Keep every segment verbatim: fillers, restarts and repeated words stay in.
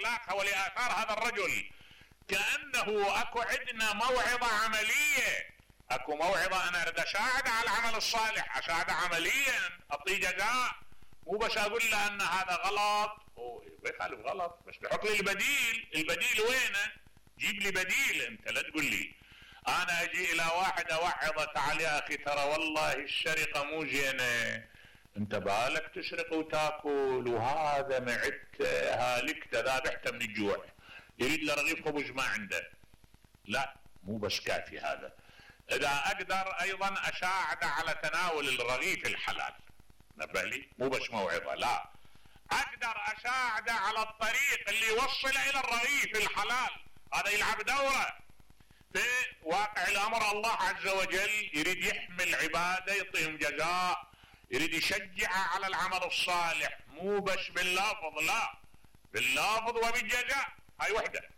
لاخلاقها ولاثار هذا الرجل. كأنه اكو عندنا موعظة عملية، اكو موعظة انا اريد اساعد على العمل الصالح، اساعد عمليا، اعطيه جزاء، مو بس اقول له ان هذا غلط ويخالف غلط، بس بحط لي البديل. البديل وينه؟ جيب لي بديل. انت لا تقول لي انا اجي الى واحد اوعظه تعال يا اخي ترى والله السرقه مو زينه، انت بالك تسرق وتاكل وهذا معدته هالكته ذابحته من الجوع، يريد له رغيف خبز ما عنده. لا، مو بس كافي هذا. اذا اقدر ايضا اساعد على تناول الرغيف الحلال، نبه لي، مو بس موعظه، لا، اقدر اساعده على الطريق اللي يوصله الى الرغيف الحلال، هذا يلعب دوره. في واقع الامر الله عز وجل يريد يحمل عباده، يعطيهم جزاء، يريد يشجعه على العمل الصالح، مو بس باللفظ، لا، باللفظ وبالجزاء. هاي وحده.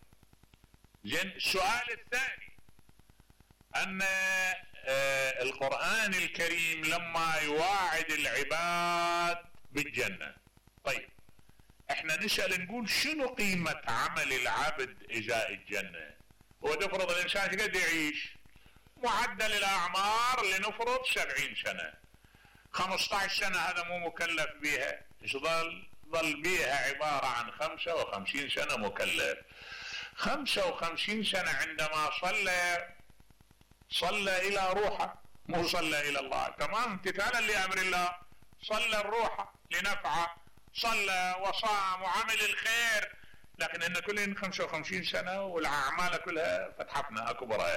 زين، السؤال الثاني ان آه القرآن الكريم لما يواعد العباد بالجنة، طيب احنا نسأل نقول شنو قيمة عمل العبد ازاء الجنة؟ هو تفرض الانسان قد يعيش؟ معدل الاعمار لنفرض سبعين سنة، خمسة عشر سنة هذا مو مكلف بها، ايش ظل؟ ظل بها عبارة عن خمسة وخمسين سنة مكلف. خمسة وخمسين سنة عندما صلى صلى الى روحه، مو صلى الى الله، تمام، امتثالا لامر الله، صلى الروح لنفعه، صلى وصام وعمل الخير، لكن ان كلهن خمسة وخمسين سنة والاعمال كلها فتحتنا اكبر.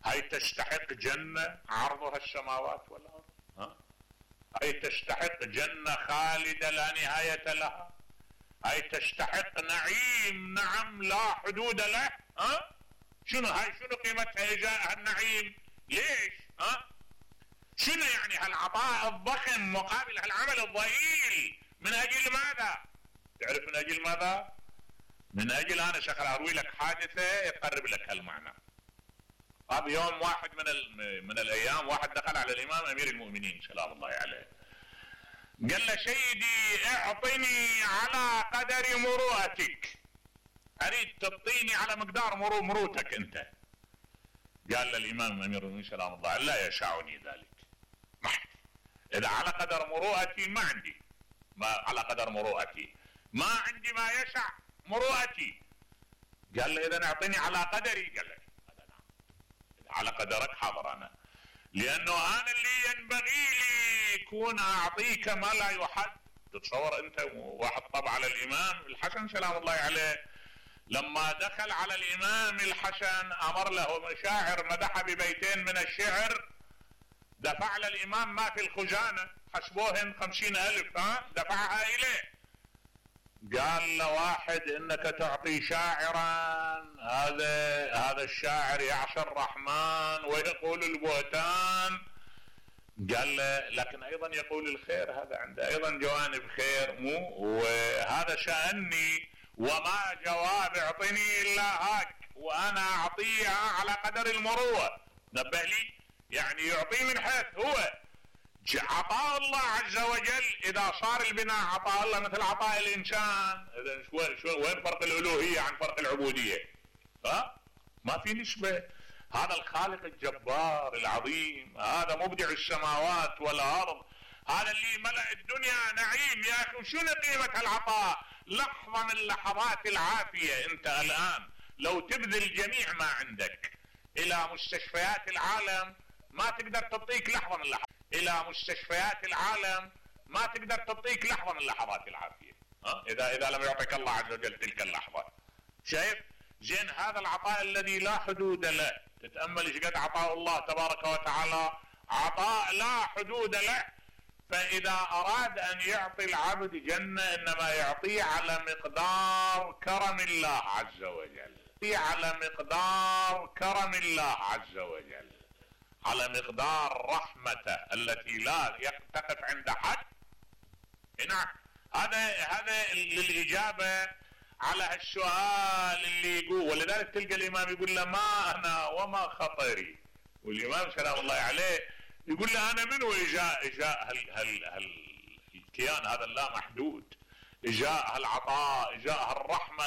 هاي تستحق جنة عرضها السماوات والارض؟ ها؟ هاي تستحق جنة خالدة لا نهاية لها؟ هاي تستحق نعيم نعم لا حدود له؟ ها؟ شنو هاي؟ شنو قيمتها ازاء النعيم؟ ليش؟ ها؟ شنو يعني هالعطاء الضخم مقابل هالعمل الضئيل؟ من اجل ماذا؟ تعرف من اجل ماذا؟ من اجل انا شغل اروي لك حادثة يقرب لك هالمعنى. هذا يوم واحد من من الايام واحد دخل على الامام امير المؤمنين سلام الله عليه، قال له سيدي اعطني على قدر مروءتك، اريد تعطيني على مقدار مرو مروتك انت. قال له الامام امير المؤمنين سلام الله عليه لا يشاعني ذلك، ما عندي، اذا على قدر مروءتي ما عندي، ما على قدر مروءتي ما عندي ما يشع مروءتي. قال له اذا اعطيني على قدري. قال له على قدرك حاضر انا، لانه انا اللي ينبغي لي يكون اعطيك ما لا يحد. تتصور انت واحد طبع على الامام الحسن سلام الله عليه، لما دخل على الامام الحسن امر له شاعر مدح ببيتين من الشعر، دفع للامام ما في الخزانة، حسبوهن خمسين الف، ها دفعها اليه. قال له واحد انك تعطي شاعرا، هذا هذا الشاعر يعصي الرحمن ويقول البهتان. قال له لكن ايضا يقول الخير، هذا عنده ايضا جوانب خير، مو وهذا شأني وما جواب اعطني الا هاك، وانا اعطيها على قدر المروءة. نبه لي، يعني يعطي من حيث هو عطاء الله عز وجل. اذا صار البناء عطاء الله مثل عطاء الانسان، اذا شو شو وين فرق الالوهية عن فرق العبودية؟ ها؟ ما في نسبة. هذا الخالق الجبار العظيم، هذا مبدع السماوات والارض، هذا اللي ملأ الدنيا نعيم. يا اخي شنو قيمة العطاء؟ لحظة من لحظات العافية. انت الان لو تبذل جميع ما عندك الى مستشفيات العالم ما تقدر تعطيك لحظة من لحظات، الى مستشفيات العالم ما تقدر تعطيك لحظة من لحظات العافية، ها؟ اذا اذا لم يعطيك الله عز وجل تلك اللحظة. شايف؟ زين، هذا العطاء الذي لا حدود له، تتأمل ايش قد عطاء الله تبارك وتعالى، عطاء لا حدود له. فاذا اراد ان يعطي العبد جنة انما يعطيه على مقدار كرم الله عز وجل، على مقدار كرم الله عز وجل، على مقدار رحمته التي لا تقف عند حد. نعم، هذا هذا للإجابة على السؤال اللي يقول. ولذلك تلقى الإمام يقول له ما أنا وما خطري، والإمام سلام الله عليه يقول له أنا منو إجاء إجاء هال هال هال الكيان هذا اللا محدود، إجاء هالعطاء، إجاء هالرحمة